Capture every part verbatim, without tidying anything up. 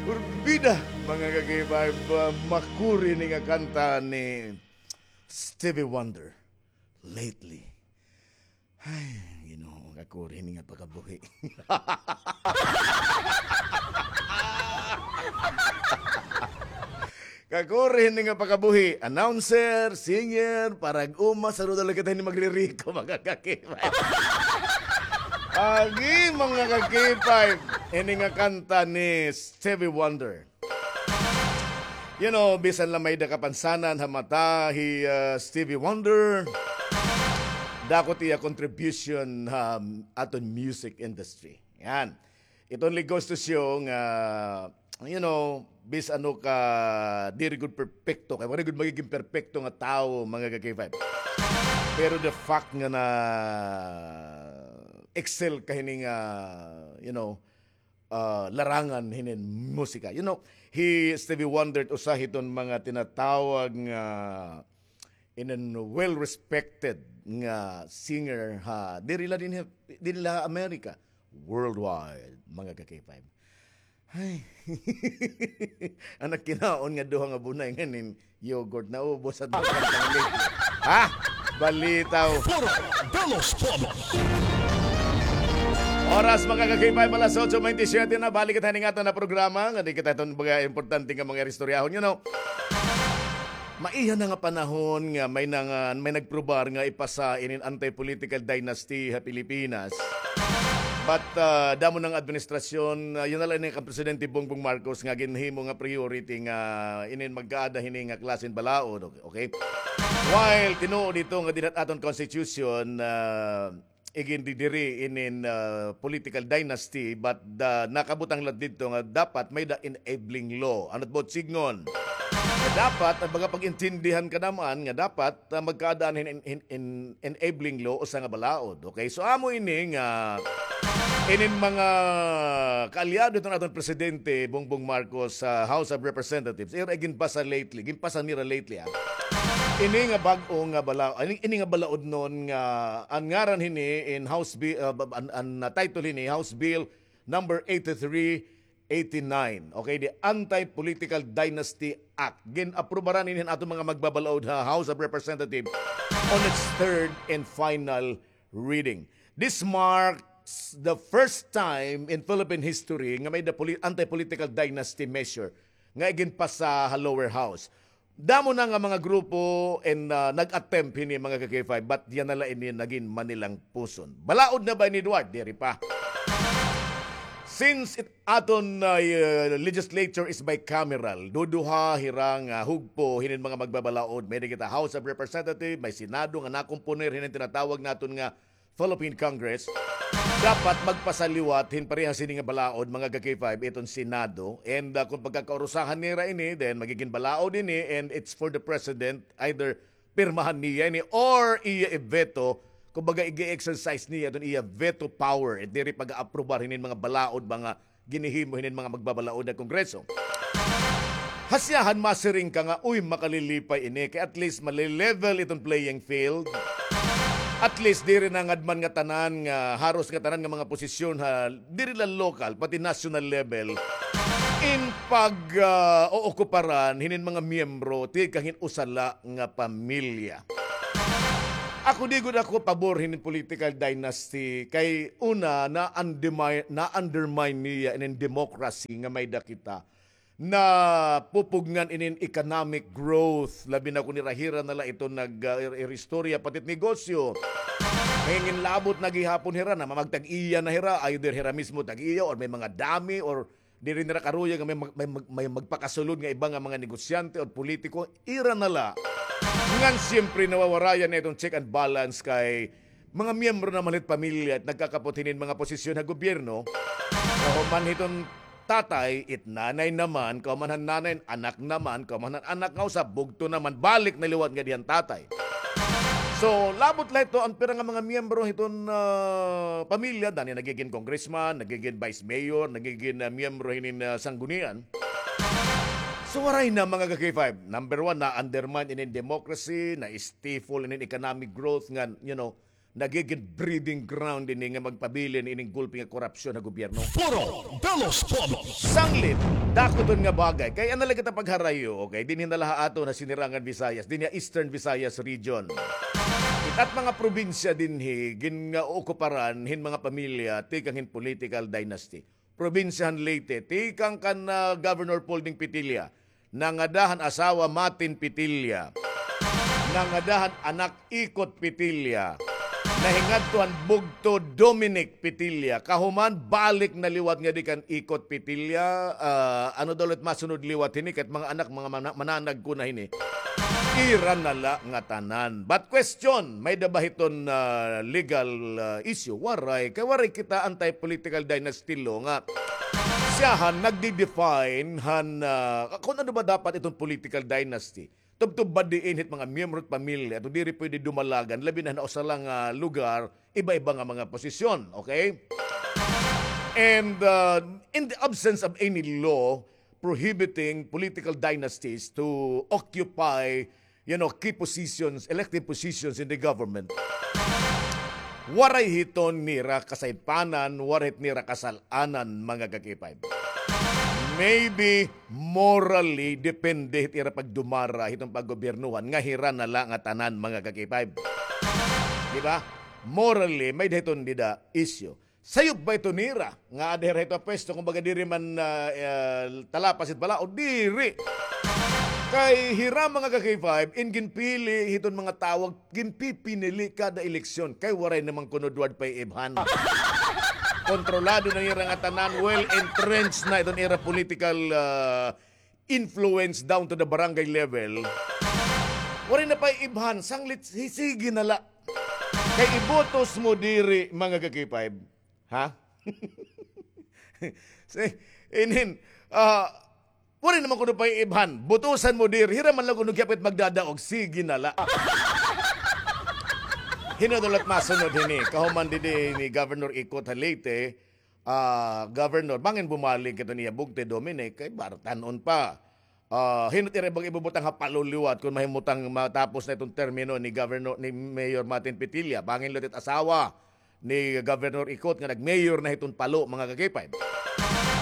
Porbida, mga ka-K five, ah, makuri ini nga kanta ni Stevie Wonder, Lately. Ay, Ginoo, kakuri ini nga pakabuhi. Kakuri ini nga pakabuhi. Announcer, singer, parag-uma, saruda la kita ini magririko, mga ka-K five. Agi, mga ka-K five. Ini nga kanta ni Stevie Wonder. You know, bisan la may-ada kapansanan ha mata hi, ah, Stevie Wonder, dako it iya contribution ha aton music industry. Yan. It only goes to show nga, you know, bisan ano ka, diri gud perpekto, kay waray gud magiging perpekto nga tawo, mga ka-K five. Pero the fact nga na-excel ka hini nga, you know, ah, larangan hinin musika. You know, hi Stevie Wonder usa hiton mga tinatawag nga inin well-respected nga singer ha, diri la dinhi, diri la America, worldwide, mga ka-K five. Ay. An nakinaon nga duha nga bunay nga nin yogurt, naubos an duha ka panglit. Ha? Balitaw. Foro de los Pueblos. Oras, mga ka-K five, alas otso baynte siyete na. Balik kita hining aton nga programa. Nga di kita iton mga importante nga mga istoryahon, you know. Maiha na nga panahon nga may na nga, may nagprobar nga ipasa inin anti-political dynasty ha Pilipinas. But, ah, damo na nga administrasyon, ah, yana la ini kan Presidente Bongbong Marcos nga ginhimo nga priority nga inin magkaada hini nga klase hin balaod, okay? While tinuod ito nga dinhi ha aton constitution, ah, igindidiri inin, ah, political dynasty, but the, nakabutang la didto nga dapat may-ada enabling law. Ano it buot sidngon? Nga dapat, an mga pag-intindihan ka naman, nga dapat, ah, magkaadaan hin, hin, hin, enabling law usa nga balaod. Okay? So, amo ini nga inin mga kaalyado hiton aton Presidente Bongbong Marcos sa House of Representatives, ira iginpasa lately, ginpasa nira lately, ha. Ini nga bag-o nga bala-, ini, ini nga balaod nun nga an ngaran hini in House Bill, ah, ba-, an, an, ah, title hini, House Bill number eighty-three eighty-nine. Okay, the Anti-Political Dynasty Act. Gin-aprubaran ini han aton mga magbabalaod ha House of Representatives on its third and final reading. This marks the first time in Philippine history nga may-ada poli-, anti-political dynasty measure nga iginpasa ha lower house. Damo na nga mga grupo and, ah, nag-attempt hini, mga ka-K five, but yana la ini nagin manilang puson. Balaod na ba ini, Edward? Diri pa. Since it, aton, ah, legislature is bicameral, duduha hira nga hugpo hinin mga magbabalaod. May-ada kita House of Representatives, may Senado nga nakomponer hinin tinatawag naton nga Philippine Congress, dapat magpasa liwat hin parehas hini nga balaod, mga ka-K five, iton Senado. And, ah, kung pagkakaurusahan nira ini, then magigin balaod ini, and it's for the president, either pirmahan niya ini or iya i-veto, kumbaga, ig-exercise niya iton iya veto power, it diri pag-aaprobar hinin mga balaod, mga ginhihimo hinin mga magbabalaod ha Kongreso. Hasiyahan, masiring ka nga, uy, makalilipay ini, kay at least malilevel iton playing field. At least, diri na ngad man ngatanan nga, haros ngatanan nga mga posisyon ha, diri la local, pati national level, in pag, ah, ookuparan hinin mga miyembro tikang hin usa la nga pamilya. Ako, di gud ako pabor hinin political dynasty, kay una, na-undermine, na-undermine niya inin democracy nga may-ada kita. Napupugngan inin economic growth, labi na kon hira-hira na la iton nag, ah, ir-, iristorya, pati it negosyo. Manginginlabot na gihapon hira, namamagtag-iya na hira, either hira mismo tag-iya or may mga dummy or diri nira karuya nga may mag-, may mag-, may magpakasulod nga iba nga mga negosyante o politiko, ira na la. Ngan siyempre nawawarayan na iton check and balance kay mga miyembro naman hit pamilya it nagkakapot hinin mga posisyon ha gobyerno. Kahuman hiton tatay, it nanay naman, kahuman han nanay, anak naman, kahuman han anak nga usa, bugto naman, balik na liwat ngadi han tatay. So, labot la ito, an pira nga mga miyembro hiton, ah, pamilya, dani nagigin congressman, nagigin vice mayor, nagigin, ah, miyembro hinin, ah, sanggunian. So, waray na, mga ka-K five. Number one, na-undermine inin democracy, na-stifle inin economic growth nga, you know, nagigin breeding ground ini nga magpabilin ining gulpi nga korupsyon ha gobyerno. Foro de los Pueblos. Sanglit, dako iton nga bagay. Kay ano la kita pagharayo, okay? Dinhi na la ha aton ha Sinirangan Visayas, dinhi ha Eastern Visayas Region. It at mga probinsya dinhi, gin nga okuparan hin mga pamilya, tikang hin political dynasty. Probinsya han Leyte, tikang kan, ah, Governor Polding Petilla, nangada han asawa Matin Petilla, nangada han anak Ikot Petilla, nahingadto han bugto Dominic Petilla, kahuman balik na liwat ngadi kan Ikot Petilla, ah, ano daw la it masunod liwat hini, kay it mga anak, mga mana-, mananag ko na hini. Ira na la ngatanan. But question, may-ada ba hiton, ah, legal, ah, issue? Waray. Kay waray kita anti-political dynasty law nga siyahan nagdi-define han, ah, kon ano ba dapat iton political dynasty. Tubtob ba diin hit mga miyembro hit pamilya, ato diri pwede dumalagan, labi na han usa la nga lugar, iba-iba nga mga posisyon, okay? And, ah, in the absence of any law prohibiting political dynasties to occupy, you know, key positions, elective positions in the government, waray hiton nira kasaypanan, waray hit nira kasal-anan, mga ka-K five. Maybe morally, depende hit ira pagdumara hiton paggobyernohan nga hira na la ngatanan, mga ka-K five. Di ba? Morally, may-ada hiton dida issue. Sayop ba ito nira nga aada hira hito ha pwesto, kumbaga diri man, ah, ah, talapas it balaod, diri. Kay hira, mga ka-K five, in ginpili hiton mga tawo, ginpipinili kada eleksyon. Kay waray naman kuno duwad pay ibhan. Kontrolado na nira ngatanan, well entrenched na iton ira political, ah, influence down to the barangay level. Waray na pay ibhan, sanglit, hi-, sige na la. Kay ibotos mo diri, mga ka-K five. Ha? Si-, inin, ah, waray naman kuno pay ibhan. Botosan mo diri. Hira man la kuno gihapon it magdadaog. Sige na la. Hin-o daw la it masunod hini? Kahuman didi ni Governor Ikot ha Leyte, ah, Governor, bangin bumalik iton iya bugto Dominic, kay bartan-on pa. Ah, hin-o it ira bang ibubutang ha palo liwat kon mahimutang matapos na iton termino ni Governor, ni Mayor Martin Petilla? Bangin liwat it asawa ni Governor Ikot nga nag-mayor na hiton palo, mga ka-K five.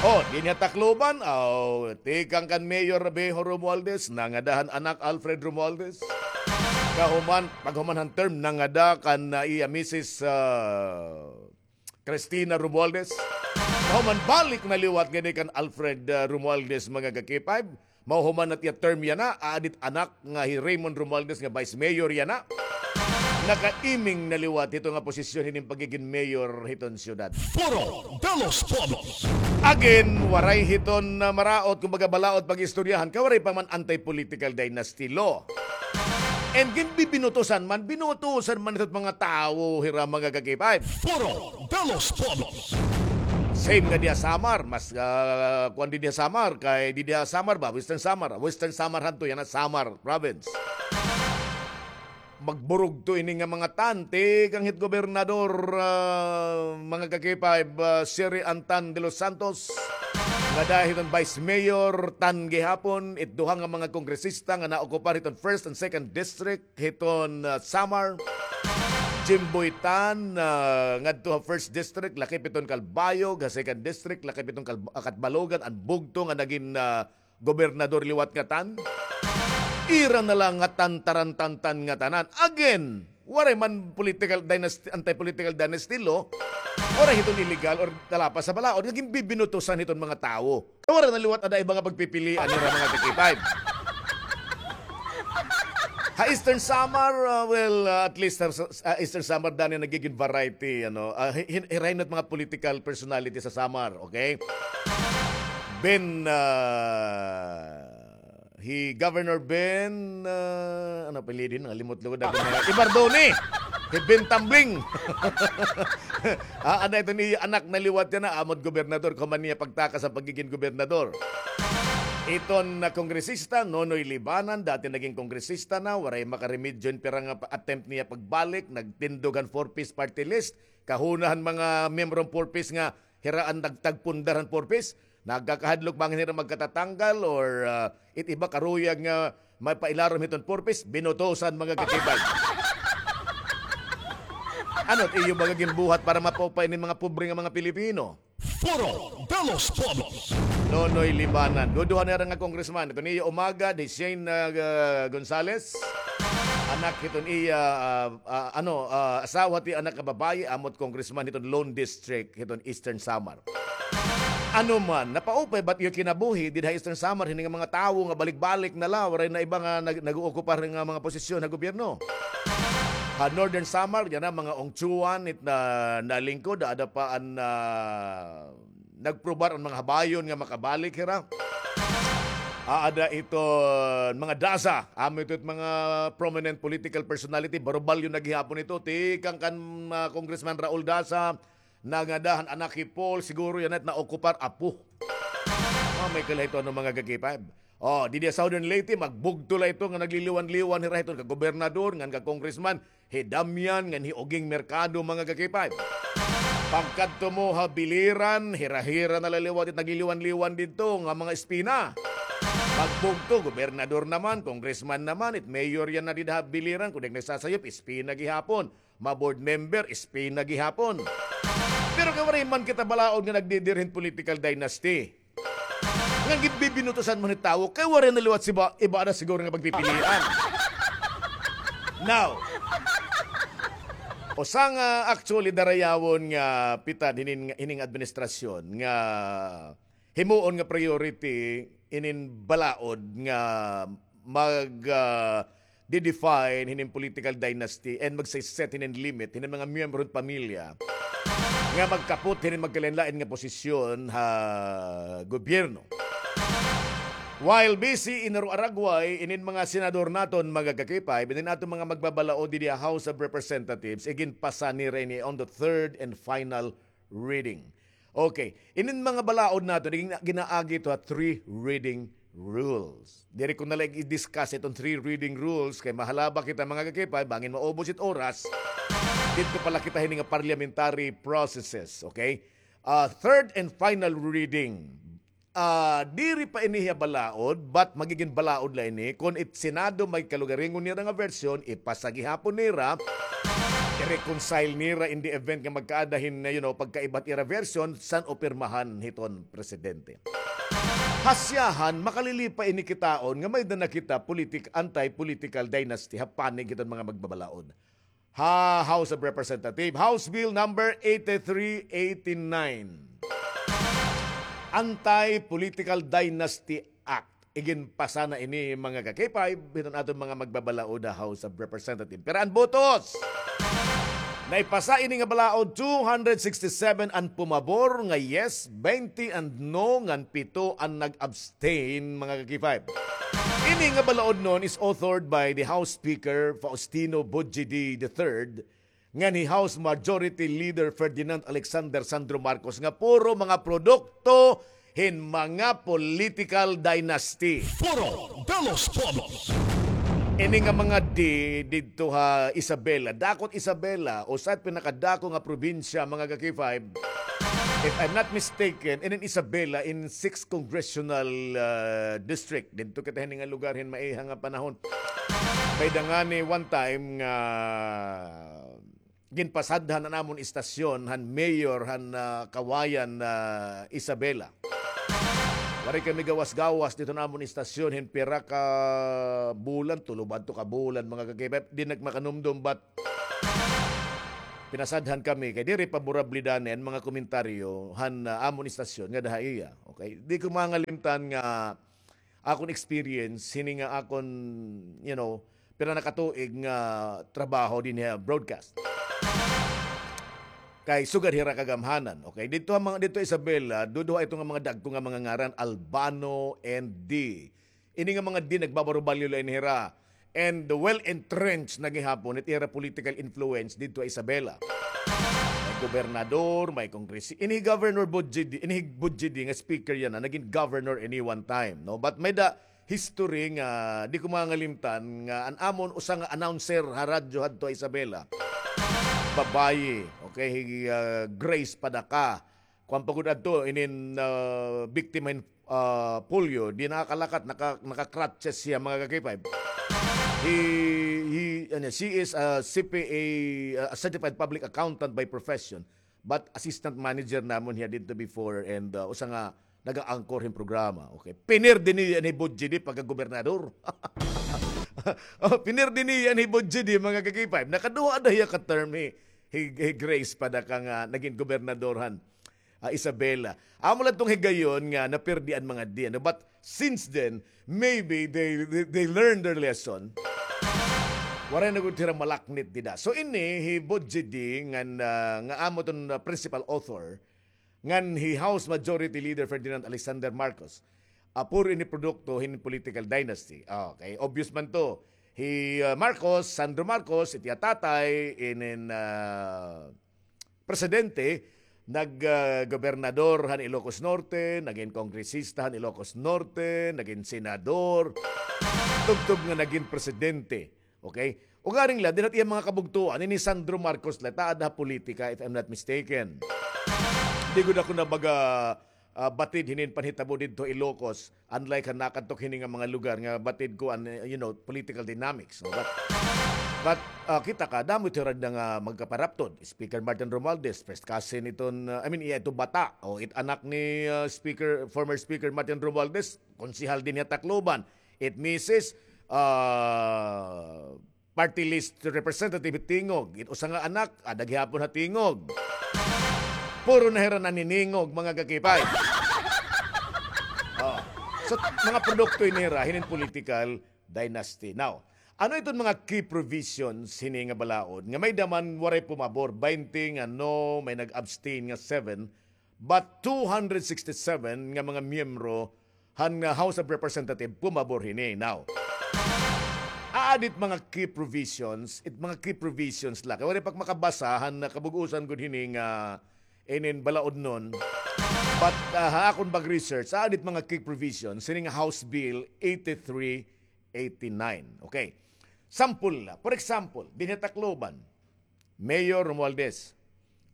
Oh, dinhi ha Tacloban, oh, tikang kan Mayor Rabiho Romualdez, nangada han anak Alfred Romualdez. Kahuman, paghuman han term, nangada kan, ah, iya misis, ah, Cristina Romualdez. Mahuman balik na liwat ngadi kan Alfred, ah, Romualdez, mga ka-K five. Mahuman na it iya term yana, aada it anak nga hi Raymond Romualdez nga vice mayor yana. Nakaiming na liwat hito nga posisyon hinin pagigin mayor hiton syudad. Foro de los Pueblos. Again, waray hiton, ah, maraot, kumbaga balaod pag-istoryahan, kay waray pa man anti-political dynasty law. And ginbibinutusan man, binutusan man ito mga tawo, hira, mga ka-K five. Foro de los Pueblos. Same nga diya Samar, mas, ah, kuan di diya Samar, kay di diya Samar ba? Western Samar. Western Samar hadto, yana Samar province. Magburugto ini nga mga TAN, tikang hit gobernador, ah, mga ka-K five, ah, Sherry Ann Tan de los Santos, ngada hiton vice mayor TAN gihapon, it duha nga mga kongresista nga naokupar hiton first and second district hiton, ah, Samar. Jimboy Tan, ah, ngadto ha first district, lakip hiton Calbayog, ha second district, lakip hiton Calb-, ah, Catbalogan, an bugto nga nagin, ah, gobernador liwat nga TAN. Ira na la ngatanan, taran-tan-tan ngatanan. Again, waray man political dynasty, anti-political dynasty law, waray hiton illegal or talapas sa balaod nga ginbibinutusan hiton mga tawo. Waray na liwat ada iba nga pagpipilian nira, mga ka-K five. Ha Eastern Samar, ah, well, ah, at least ha, sa, ah, Eastern Samar, dani nagigin variety, ano, ah, hi-, hin-, hirain it mga political personality sa Samar, okay? Ben, ah, hi Governor Ben, ah, ano apelyido, nakalimot lugod ako na. Evardone! Hi Ben Tambling! Ah, ada iton iya anak na liwat yana, amo it gobernador, kahuman niya pagtakas an pagigin gobernador. Iton, ah, kongresista, Nonoy Libanan, dati nagin kongresista na, waray makaremedyo hin pira nga pa-, attempt niya pagbalik, nagtindog han Four Ps party list, kahuna han mga miyembro han Four Ps nga hira an nagtagpundar han Four Ps, nagkakahadlok bangin hira magkatatanggal or, ah, it iba karuyag nga mapailarom hiton Four Ps, binutusan, mga ka-K five. Ano it iyo baga ginbuhat para mapaupay ini mga pobre nga mga Pilipino? Foro de los Pueblos. Nonoy Libanan. Duduha na hira nga congressman. Ito niya umaga, hi Shane uh, Gonzales. Anak hiton iya, uh, uh, ano, uh, asawa ti anak nga babayi, amot congressman hiton Lone District, hiton Eastern Samar. Ano man, napaupay ba't iyo kinabuhi didha Eastern Samar, hini nga mga tawo nga balik-balik na la, waray na iba nga nag-, nag-ookupar nga mga posisyon ha gobyerno? Ha Northern Samar, yana mga Ongchuan, it na, nalingkod, ada pa an, ah, nagprobar an mga habayon nga makabalik hira. Aada iton mga Daza, amo ito it mga prominent political personality, Baroballo na gihapon ito, tikang kan, ah, Congressman Raul Daza, nangada han anak hi Paul, siguro yana it naokupar apo. Ah, may kala ito ano mga ka-K five. Oh, didi ha Southern Leyte, magbugto la ito nga nagliliwan-liwan hira hiton ka gobernador, ngan ka congressman, hi Damian, ngan hi Oging Mercado, mga ka-K five. Pagkadto mo ha Biliran, hira-hira na la liwat it nagliliwan-liwan didto nga mga espina. Magbugto, gobernador naman, congressman naman, it mayor yana dida ha Biliran, kun di nagsasayop, espina gihapon. Ma-board member, espina gihapon. Pero kay waray man kita balaod nga nagdidiri hin political dynasty. Nga ginbibinutusan man hin tawo, kay waray na liwat siba, iba na siguro nga pagpipilian. Now, usa nga actually darayawon nga pitad hinin, hining administrasyon nga himuon nga priority inin balaod nga mag, ah, di-define hinin political dynasty and magse-set hinin limit hinin mga miyembro hin pamilya nga magkapot hinin magkalain-lain nga posisyon ha gobyerno. While busy in Aro-Araguay, inin mga senador naton, mga ka-K five, inin aton mga magbabalaod didi ha House of Representatives, iginpasa nira ini on the third and final reading. Okay. Inin mga balaod naton, gina-, ginaagi ito ha three reading rules. Diri ko na la i-discuss iton three reading rules kay mahalaba kita mga ka-K five, bangin maubos it oras. Didto pa la kita hini nga parliamentary processes, okay? Ah, third and final reading. Ah, diri pa ini hiya balaod, but magigin balaod la ini kon it Senado may kalugaringon nira nga version, ipasa gihapon nira, i-reconcile nira in the event nga magkaada hin, you know, pagkaibat ira version, san-o pirmahan hiton presidente. Hasyahan, makalilipa ini kitaon nga may-ada na kita politik-, anti-political dynasty ha panig hiton mga magbabalaod ha House of Representatives, House Bill number eighty-three eighty-nine. Anti-Political Dynasty Act. Iginpasa na ini, mga ka-K five, hiton aton mga magbabalaod ha House of Representatives. Pero an botos, naipasa ini nga balaod, two hundred sixty-seven an pumabor nga yes, twenty an no, ngan pito an nag-abstain, mga ka-K five. Ini nga balaod noon is authored by the House Speaker Faustino Bujidi the third, ngan hi House Majority Leader Ferdinand Alexander Sandro Marcos nga puro mga produkto hin mga political dynasty. Foro de los Pueblos. Ini nga mga D didto ha Isabela, dako it Isabela, usa it pinakadako nga probinsya, mga ka-K five. If I'm not mistaken, inin Isabela in sixth congressional, ah, district. Didto kita hini nga lugar hin maiha nga panahon. May-ada ngani one time nga ginpasadhan an amon istasyon han mayor han, ah, Kawayan, ah, Isabela. Waray kami gawas-gawas didto han amon istasyon hin pira ka bulan, tulo ba adto ka bulan, mga ka-K five, di na ak makanumdom, but pinasadhan kami kay diri paborable dani an mga komentaryo han, ah, amon istasyon ngada ha iya. Okay? Di ko mangalimtan nga akon experience, hini nga akon, you know, pira na ka tuig nga trabaho dinhi ha broadcast. Kay sugad hira kagamhanan, okay? Didto ha mga, didto Isabela, duduha ito nga mga dagko nga mga ngaran, Albano and D. Ini nga mga D, nagbabarobalyo la ini hira. And well entrenched na gihapon it ira political influence didto ha Isabela. May gobernador, may kongres-, ini Governor Bujidi, ini Bujidi nga speaker yana, nagin governor ini one time, no? But may-ada history nga di ko mangalimtan nga an amon usa nga announcer ha radyo hadto ha Isabela. Babayi, okay, hi, ah, Grace Padaka. Kuan pa gud adto, inin, ah, biktima hin, ah, polio, di nakakalakat, naka-, naka-crutches siya, mga ka-K five. Hi, hi, Ano, she is a C P A, uh, a certified public accountant by profession, but assistant manager namon hiya didto before and, uh, usa nga naga-anchor hin programa. Okay. Pinirdi niya ni Budgie D pagkagobernador. Oh, pinirdi niya ni Budgie D, mga ka-K five. Nakaduha na hiya ka term hi, hi, hi Grace Padaka nga nagin gobernador han ah, Isabela. Amo lang tong higayon nga napirdi an mga di, ano? But since then, maybe they, they, they learned their lesson. Waray na gud hira malaknit dida. So ini hi Budgie D ngan, ah, nga amo ton, ah, principal author, ngan hi House Majority Leader Ferdinand Alexander Marcos, ah, puro ini produkto hin political dynasty. Okay, obvious man to. Hi, ah, Marcos, Sandro Marcos, it iya tatay, inin, ah, presidente, nag, ah, gobernador han Ilocos Norte, nagin kongresista han Ilocos Norte, nagin senador, tubtob nga nagin presidente. Okay? Ugaring la, dinha it iya mga kabugtoan, ini Sandro Marcos la, it aada ha politika, if I'm not mistaken. Di gud ako nabaga, ah, batid hinin panhitabo didto Ilocos, unlike han nakadto hini nga mga lugar nga batid ko an, eh, you know, political dynamics, no? But, but, ah, kita ka, damo it hira nga magkaparaptod. Speaker Martin Romualdez, first cousin iton, ah, I mean, iya ito bata, o it anak ni, ah, Speaker, former Speaker Martin Romualdez, konsehal dinhi ha Tacloban. It misis, ah, party list representative Tingog. It usa nga anak, aada gihapon ha Tingog. Puro na hira naniningog, mga ka-K five. Oh. So, mga produkto ini hira hinin political dynasty. Now, ano iton mga key provisions hini nga balaod nga may-ada man waray pumabor, baynte nga no, may nag-abstain nga seven, but two hundred sixty-seven nga mga miyembro han, ah, House of Representative pumabor hini. Now, aada it mga key provisions, it mga key provisions la. Kay waray pa ak makabasa han, ah, kabug-osan gud hini nga inin balaodnon. But, ah, ha akon pag-research, aada it mga key provisions hini nga House Bill eighty-three eighty-nine. Okay. Sample la. For example, dinhi ha Tacloban, Mayor Romualdez,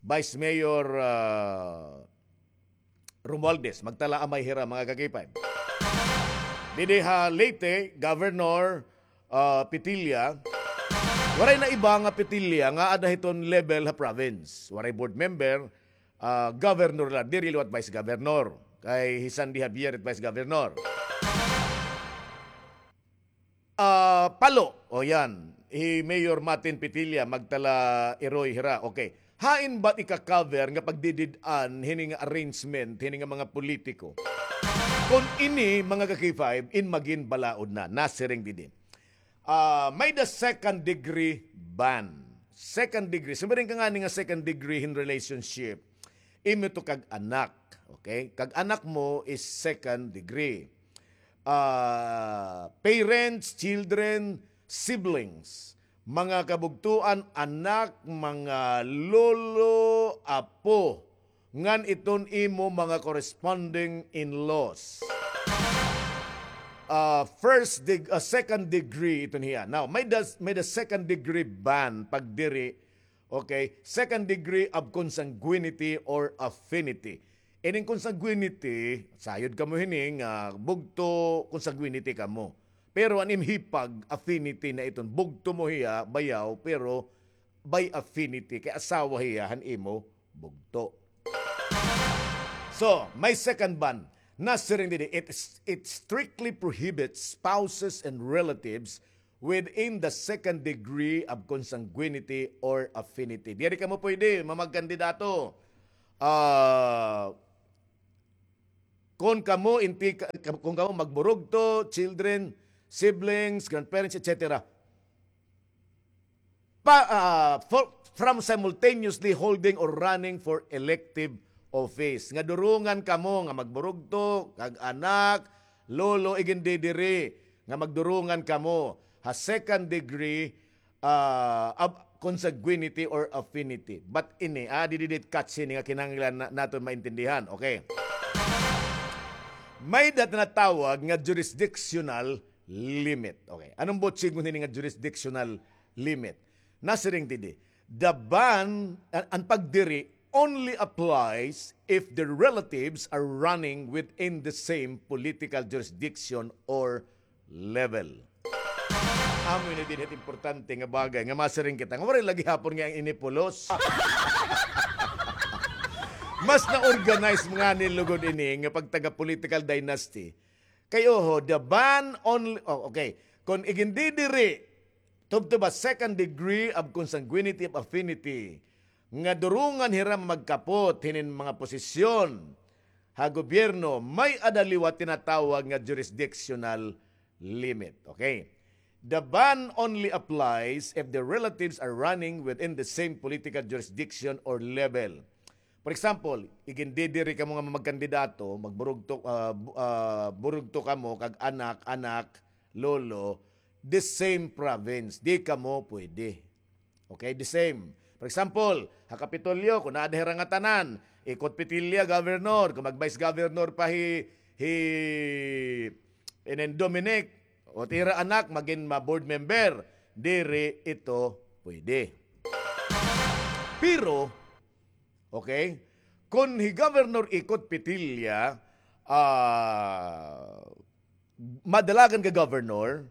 Vice Mayor, ah, Romualdez, magtala amay hira, mga ka-K five. Didi ha Leyte, Governor, ah, Petilla. Waray na iba nga Petilla nga aada hiton level ha province. Waray board member, ah, governor la, diri liwat vice governor. Kay hi Sandy Javier it vice governor. Ah, Palo. O, yan. Hi Mayor Martin Petilla, magtala iroy hira. Okay. Hain ba it ika-cover nga pagdidid-an hini nga arrangement, hini nga mga politiko? Kon ini, mga ka-K five, in magin balaod na, nasiring didi. Ah, may-ada second degree ban. Second degree. Siring ka ngani nga second degree hin relationship. Imo ito kag-anak. Okay? Kag-anak mo is second degree. Ah, parents, children, siblings, mga kabugtoan, anak, mga lolo, apo, ngan iton imo mga corresponding in-laws. Ah, first deg-, ah, second degree iton hiya. Now, may-ada, may-ada second degree ban pagdiri. Okay, second degree of consanguinity or affinity. Ining consanguinity, sayod kamo hini nga bugto, consanguinity kamo. Pero an im hipag, affinity na iton. Bugto mo hiya, bayaw, pero by affinity, kay asawa hiya han imo bugto. So, may second ban. Nasiring didi, it, it strictly prohibits spouses and relatives within the second degree of consanguinity or affinity. Diri kamo pwede, mga magkandidato. Ah, kon kamo, inti, kon kamo magburugto, children, siblings, grandparents, et cetera. Pa, ah, for, from simultaneously holding or running for elective office. Nga durungan kamo nga magburugto, kag-anak, lolo, igindidiri, nga magdurungan kamo ha second degree, ah, of consanguinity or affinity. But ini, ah, didi it catch hini nga kinahanglan na, naton maintindihan. Okay. May-ada tinatawag nga jurisdictional limit. Okay. Anong buot siring hini nga jurisdictional limit? Nasiring didi, the ban, an, an pagdiri only applies if the relatives are running within the same political jurisdiction or level. Amo ini dinhi it importante nga bagay nga masiring kita nga waray la gihapon nga ini pulos. Mas na-organize ngani lugod ini nga pagtaga political dynasty. Kay oho, the ban only, oh, okay. Kon igindidiri, tubtob ha second degree of consanguinity of affinity, nga durungan hira magkapot hinin mga posisyon ha gobyerno, may-ada liwat tinatawag nga jurisdictional limit. Okay? The ban only applies if the relatives are running within the same political jurisdiction or level. For example, igindidiri kamo nga magkandidato, magburugto, ah, bu-, ah, burugto kamo kag anak, anak, lolo, the same province. Di kamo pwede. Okay, the same. For example, ha Kapitolyo, kon naa hira ngatanan, Ikot Petilla, governor, kon mag-vice governor pa hi, hi Inen Dominic, o it ira anak, magin ma-board member, diri ito pwede. Pero, okay, kon hi Governor Ikot Petilla, ah, madalagan ka governor,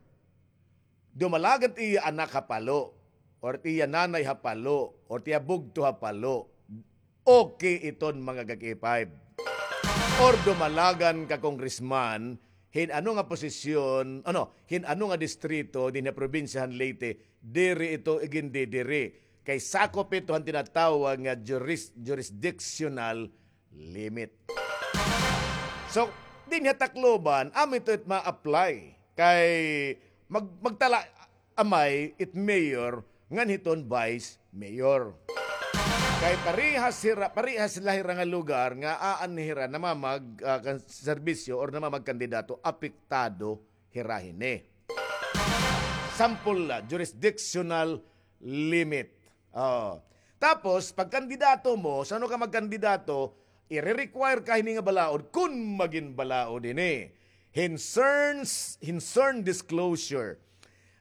dumalagan it iya anak ha Palo, or it iya nanay ha Palo, or it iya bugto ha Palo, okay iton mga ka-K five. Or dumalagan ka congressman, hin ano nga posisyon, ano, hin ano nga distrito dinhi ha probinsya han Leyte, diri ito igindidiri. Kay sakop ito han tinatawag nga juris-, jurisdictional limit. So, dinhi ha Tacloban, amo ito it ma-apply. Kay mag-, magtala amay it mayor ngan hiton vice mayor. Kay parehas hira, parehas la hira nga lugar nga aanhi hira namamag-, ah, kan-, serbisyo or namamagkandidato, apektado hira hini. Sample la, jurisdictional limit. Oh. Tapos, pagkandidato mo, san-o ka magkandidato, ire-require ka hini nga balaod kun magin balaod hini. Hin CERN, hin CERN disclosure.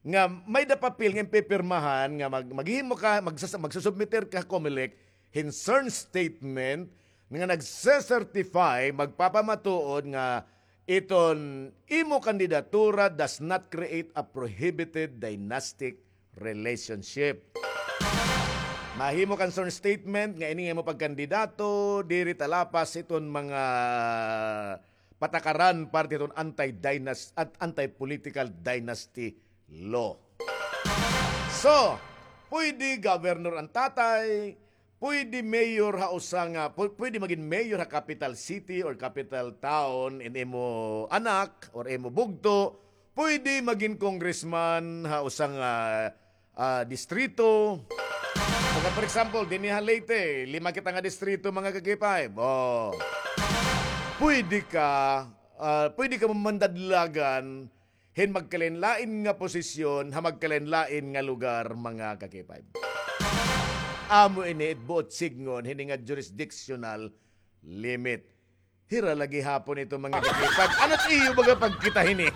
Nga may-ada papel nga pipirmahan nga mag-, maghimo ka, magsas-, magsusubmiter ka COMELEC hin CERN statement nga nagse-certify, magpapamatuod nga iton imo kandidatura does not create a prohibited dynastic relationship. Mahimo kan CERN statement nga ini nga imo pagkandidato diri talapas hiton mga patakaran parte hiton anti-dynas-, at anti-political dynasty law. So, pwede governor an tatay, pwede mayor ha usa nga, pu-, pwede magin mayor ha capital city or capital town in imo anak or imo bugto, pwede magin congressman ha usa nga, ah, distrito. So, for example, dinhi ha Leyte, lima kita nga distrito, mga ka-K five. Oh. Pwede ka, ah, pwede ka mamandadlagan hin magkalain-lain nga posisyon ha magkalain-lain nga lugar, mga ka-K five. Amo ini it buot sidngon hini nga jurisdictional limit. Hira la gihapon ito, mga ka-K five. Ano it iyo baga pagkita hini?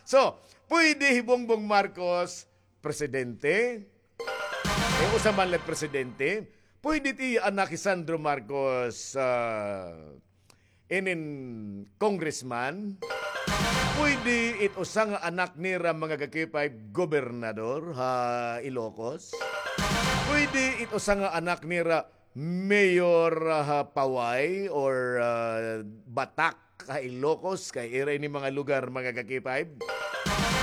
So, pwede hi Bongbong Marcos presidente? Eh, usa man la presidente. Pwede it iya anak hi Sandro Marcos, ah, inin congressman. Pwede it usa nga anak nira, mga ka-K five, gobernador ha Ilocos. Pwede it usa nga anak nira mayor ha Paway or, ah, Batak ha Ilocos, kay ira ini mga lugar, mga ka-K five.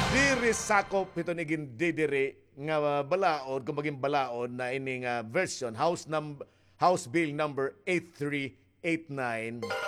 Diri sakop hiton igindidiri nga balaod, kon magin balaod na ini nga version, House num-, House Bill number eight three eight nine.